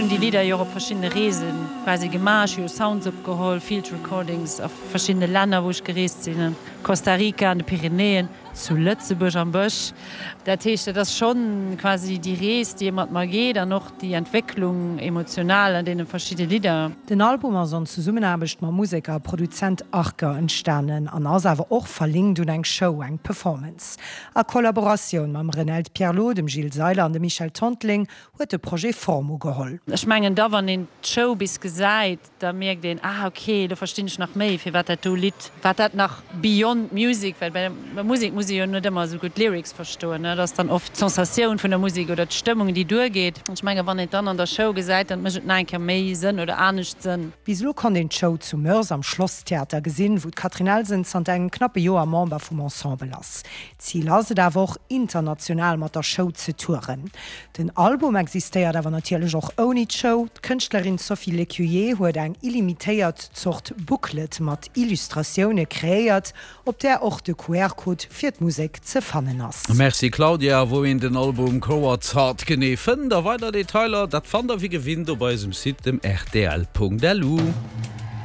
Ech hunn déi Lidder jo och op verschiddene Reese quasi gemaach. Ech hu jo Sounds opgeholl, Field Recordings a verschiddene Länner, wou ech gereest sinn, Costa Rica, an de Pyrenäen, zu Lëtzebuerg am Bësch. Dat heescht, dat ass schonn quasi déi Rees, déi ee mat mer geet an och déi Entwécklung emotional an deene verschidde Lidder. Den Album ass an Zesummenaarbecht mam Museker a Produzent Arker entstanen an ass awer och verlinkt un eng Show, eng Performance. A Kollaboratioun mam Renelde Pierlot, dem Gilles Seiler an dem Michel Tonteling huet de Projet Form ugeholl. Ech mengen da wann een d'Show bis gesäit, da mierkt een, ah ok, elo verstinn ech nach méi firwat dat do Lidd, wat dat nach beyond music, well bei der Musek muss ee jo net ëmmer esou gutt d'Lyrics verstoen, dat ass dann oft d'Sensatioun vun der Musek oder d'Stëmmung déi duergeet. Ech mengen wann een et dann an der Show gesäit, dann mécht et nach eng Kéier méi Sënn oder anescht Sënn. Bis elo konnt een d'Show zu Moers am Schlosstheater gesinn, wou d'Catherine Elsen zanter engem knappe Joer Member vum Ensemble ass. Zil ass et awer och, international mat der Show ze touren. Den Album existéiert awer natierlech och ouni d'Show. D'Kënschtlerin Sophie Lécuyer huet eng illimitéiert Zort Booklet mat Illustratioune kreéiert, op där och de QR-Code fir d'Musek ze fannen ass. Merci Claudia, wou een den Album Coward's Heart genee fënnt a weider Detailer, dat fannt der wéi gewinnt op eisem Site, dem rtl.lu.